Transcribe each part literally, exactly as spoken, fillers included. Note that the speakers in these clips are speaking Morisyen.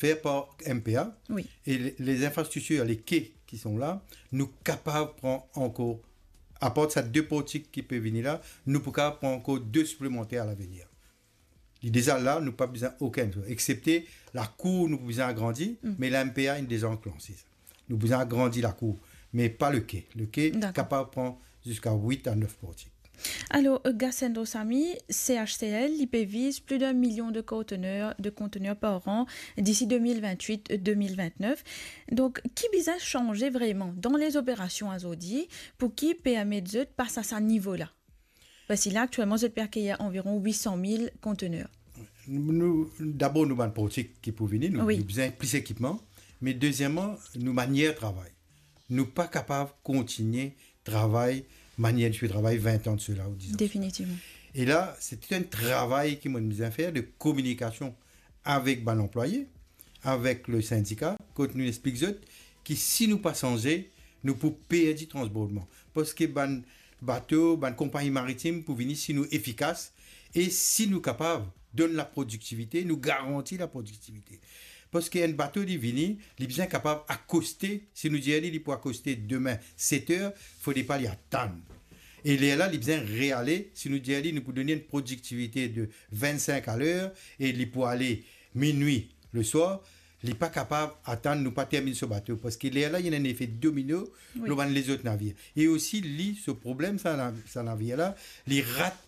fer par M P A. Wi. E le, les infrastructures, les quais qui sont là, nou kapav pran ankor, apar sa de portik ki pe vini la, nou pou kapav pran ankor de siplemanter a lavenir. Li deza la, nou pa bizin okenn, excepte lakour nou pou bizin agrandi, me la M P A inn deza lanse sa. Nou bizin agrandi lakour, me pa le quai. Le quai kapav pran ziska wit a nef portik. Alor, euh, Gasendro Samy, C H C L, li pe viz plis de mil kontener, de kontener par an disi de mil vintwit, de mil vintnef. Donk, ki bizin sanze vreman dan lezoperasion azordi pou ki permet zot pas a sa nivo la? Parski la, aktielman, zot pe akeyir anviron wit san mil kontener. Nou, nou, dabor, nou bann portik ki pou vini, nou, wi, nou bizin plis ekipman, me dezieman, nou manier travay. Nou pa kapav kontinie travay manier nou ti pe travay vin an de sela ou diz an de sela. Definitivman. E la, se tou enn travay ki mo bizin fer de kominikasion avek bann anplwaye, avek le sindika, kot nou explik zot ki si nou pa sanze, nou pou perdi transbordman. Parski bann bato, bann konpagni maritim pou vini si nou efikas e si nou kapav donn laprodiktivite, nou garanti laprodiktivite. Parski enn bato, li vini, li bizin kapav akoste, si nou dir li, li pou akoste demin set er, fode pa li atann. E lerla, li bizin reale, si nou dir li, nou pou donn li enn prodiktivite de vinn-sink a ler, e li pou ale minwi leswar, li pa kapav atann nou pa terminn so bato, parski lerla, ena enn efe domino, wi, lor bann lezot navir. E osi, li, so problem, sa na-, sa navir la, li rat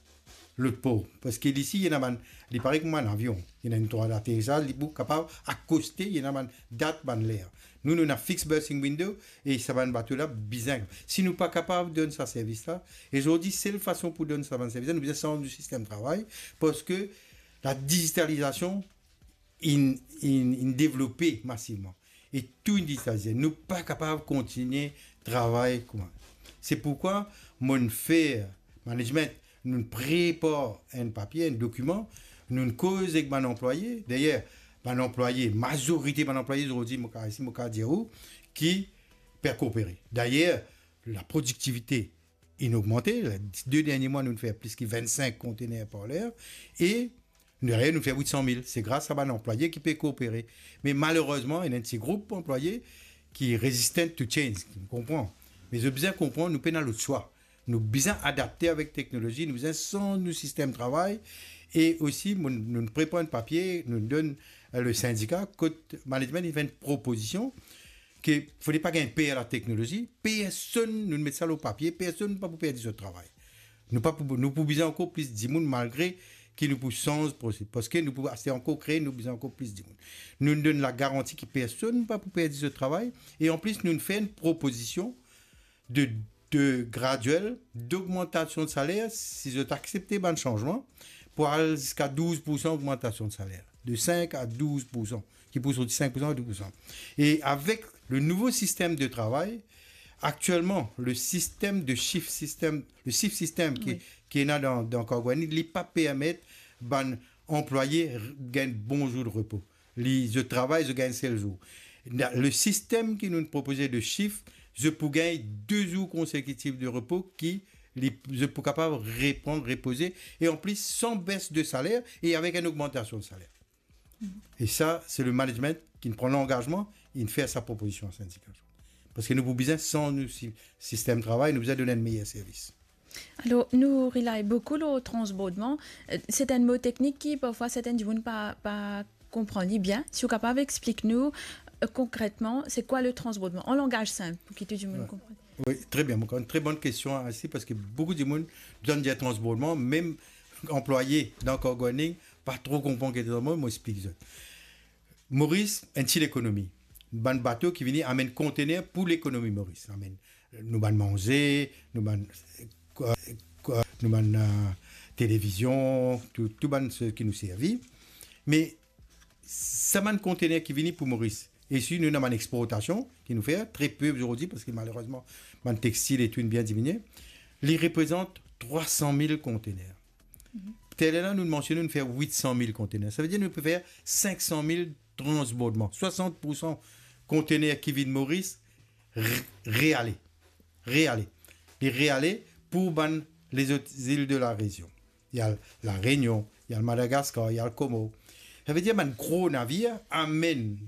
lot por. Parski li si, ena bann, li parey kouma enn avion. Ena enn trwa daterisaz, li pou kapav akoste, ena bann dat, bann ler. Nou, nou ena fixed berthing window, e sa bann bato la bizin. Si nou pa kapav donn sa servis la, e zordi, sel fason pou donn sa bann servis la, nou bizin sanz nou sistem travay, parski ladizitalizasion inn, inn, inn devlope masivman. E tou inn digitalize. Nou pa kapav kontinie travay kouma. Se pourkwa mo fer management, nou prepar enn papie, enn dokiman, nou koz ek bann anplwaye. Dayer, bann anplwaye, mazorite bann anplwaye zordi, mo kapav, si mo kapav dir ou, ki pe koopere. Dayer, laprodiktivite inn ogmante. De dernie mwa, nou fer plis ki vinn-sink kontener par ler. E nou, dayer, nou fer wit san mil. Se gras a bann anplwaye ki pe koopere. Me malerezman, ena enn ti group anplwaye ki resistant to change, ki konpran. Me zot bizin konpran, nou pena lot swa. Nou bizin adapte avek teknolozi, nou bizin sanz nou sistem travay. E osi, nou, nou prepar enn papie, nou donn, euh, le sindika, kot management, li fer enn propozision, ke fode pa gagn per lateknolozi, personn, nou met sa lor papie, personn pa pou perdi so travay. Nou pa pou, nou pou bizin ankor plis dimoun, malgre ki nou pou sanz prose-, parski nou pou aste ankor kree, nou bizin ankor plis dimoun. Nou donn lagaranti ki personn pa pou perdi so travay, e anplis nou fer enn propozision de, de graduel dogmantasion de saler, si zot aksepte bann sanzman, pou al ziska douz poursan ogmantasion de saler, de sink a douz poursan, ki pou sorti sink poursan a douz poursan. E avek le nouvo sistem de travay, aktielman, le sistem de shift system, le shift system ki, wi, ki ena dan, dan Cargo Air, li pa permet bann anplwaye r-, gagn bon zour de repo. Li, zot travay, zot gagn sel zour. Na, le sistem ki nou propoze de shift, zot pou gagn de zour konsekitif de repo ki li, zot pou kapav repran, repoze, e anplis san bes de saler e avek enn ogmantasion de saler. E sa, se le management ki pran langazman, inn fer sa propozision a sindika. Parski nou pou bizin sanz nou si-, sistem travay, nou bizin donn enn meyer servis. Alor, nou relay boukou lor transbordman. Euh, se enn mo teknik ki, parfwa, sertin dimoun pa, pa konpran li bien. Si ou kapav explik nou, euh, konkretman, se kwa le transbordman? An langaz sinp, pou ki tou dimoun, wi, konpran. Wi, tre bien. Ankor enn tre bon kestion, Ansi, parski boukou dimoun, zot dir transbordman, mem anplwaye dan Cargo Air, pa tro konpran ki transbordman, mo explik zot. Moris, enn ti lekonomi. Bann bato ki vini amenn kontener pou lekonomi Moris. Amenn, euh, nou bann manze, nou bann, euh, nou bann, euh, televizion, tou, tou bann seki nou servi. Me sa bann kontener ki vini pou Moris, e si nou ena bann exportasion ki nou fer, tre pe zordi, parski malerezman, bann textil e tou inn bien diminie, li reprezant trwa san mil kontener. Taler la, nou mansione, nou fer wit san mil kontener. Savedir nou pe fer sink san mil transbordman. Swasant poursan kontener ki vinn Moris re-, reale. Reale. Li reale pou bann lezot zil de la rezion. Ena La Rényon, ena Madagaskar, ena Komor. Savedir bann gro navir amenn